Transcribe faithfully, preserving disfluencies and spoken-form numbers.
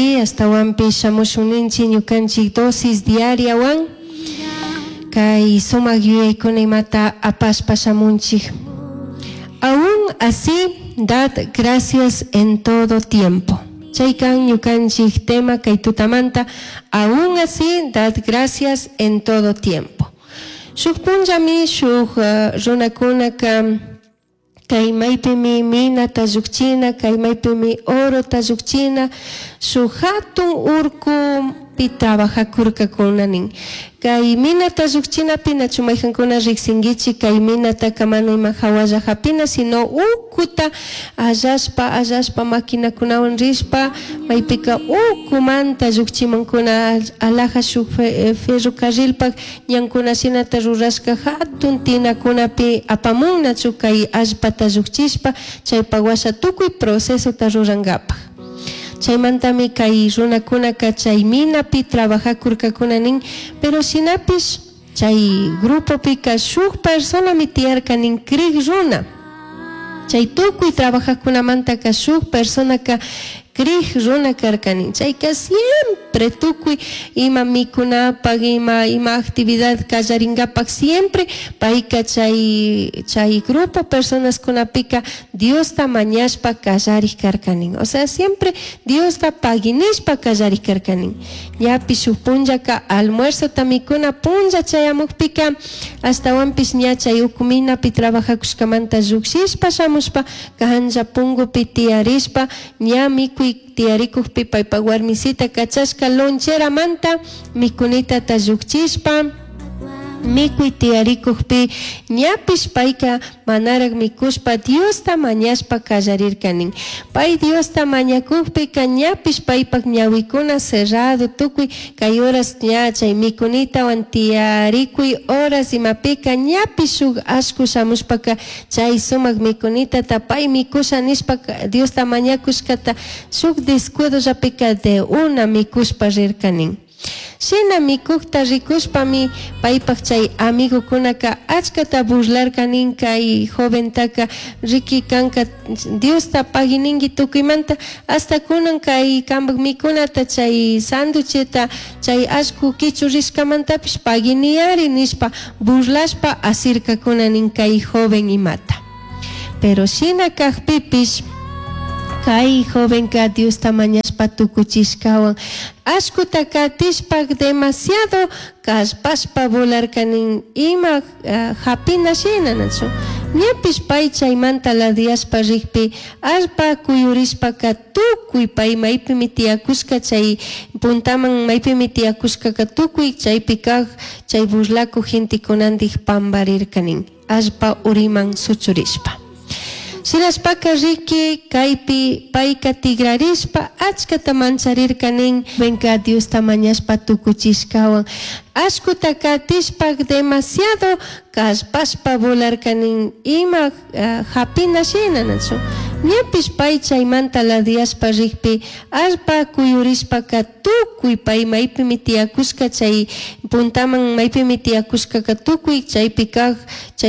Ashtawanpish shamushun ninchik ñukanchik dosis diariawan kay sumak yuyaykuna imata apashpa shamunchik. Aún así, dad gracias en todo tiempo. Chay kan ñukanchik tema kay tutamanta, aún así, dad gracias en todo tiempo. Shuk punllami shuk uh, runakunaka kay maypimi minata llukchina, kay maypimi orota llukchina, shuk hatun urkupi trabajakurkakuna nin. Kay minata llukchinapi nachu mayjankuna riksinkichik kay minataka mana ima hawalla hapina, sino ukuta allashpa allashpa maquinakunawan rishpa maypika ukumanta llukchimankuna alaja shuk ferrocarrilpak ñankuna shinata rurashka hatun tinakunapi apamun nachu kay allpata llukchishpa chaypak washa tukuy procesota rurankapak. Chaymantami kay runakunaka chay minapi trabajakurkakuna nin, pero shinapish chay grupopika shuk personami tiyarka nin crik runa. Chay tukuy trabajakunamantaka shuk personaka crik runa karka nin. Chayka siempre tukuy ima mikunapak, ima, ima actividad kallarinkapak siempre payka chay, chay grupo personaskunapika Diosta mañashpa kallarik karka nin. O sea, siempre Diosta paginishpa kallarik karka nin. Ñapish shuk punllaka almuerzota mikuna punlla chayamukpika ashtawanpish ña chay uku minapi trabajakushkamanta llukshishpa shamushpa kanlla pungupi tiyarishpa ña mikuy tiyarikukpi paypak warmisita kachashka loncheramanta mikunitata llukchishpa mikuy tiyarikukpi ñapish payka manarak mikushpa Diosta mañashpa kallarirka nin. Pay Diosta mañakukpika ñapish paypak ñawikuna cerrado tukuy kay horas ña chay mikunitawan tiyarikuy horas imapika ñapish shuk ashku shamushpaka chay sumak mikunitata pay mikusha nishpa Diosta mañakushkata shuk descuidollapika de una mikushpa rirka nin. Shina mikukta rikushpami paypak chay amigukunaka achkata burlarka nin kay joventaka riki kanka Diosta pagininki tukuymanta hasta kunan kay kanpak mikunata chay sanducheta chay ashku kichu rishkamantapish paginiyari nishpa burlashpa asirkakuna nin kay joven imata. Pero shina kakpipish kay jovenka Diosta mañashpa tukuchishkawan ashkuta katishpa demasiado kallpashpa volarka nin ima uh, hapina shina nachu ñapish pay chaymanta ladiyashpa rikpi allpa kuyurishpaka tukuy pay maypimi tiyakushka chay puntaman maypimi tiyakushkaka tukuy chaypi kak chay burlakuk gentekunantik pamparirka nin allpa uriman suchurishpa. Shinashpaka riki kaypi payka tigrarishpa achkata mancharirka nin venka Diosta mañashpa tukuchishkawan ashkuta katishpa demasiado kallpashpa volarka nin ima uh, hapina shina nachu ñapish pay chaymanta ladiyashpa rikpi allpa kuyurishpaka tukuy pay maypimi tiyakushka chay puntaman maypimi tiyakushkaka tukuy chaypi kak chay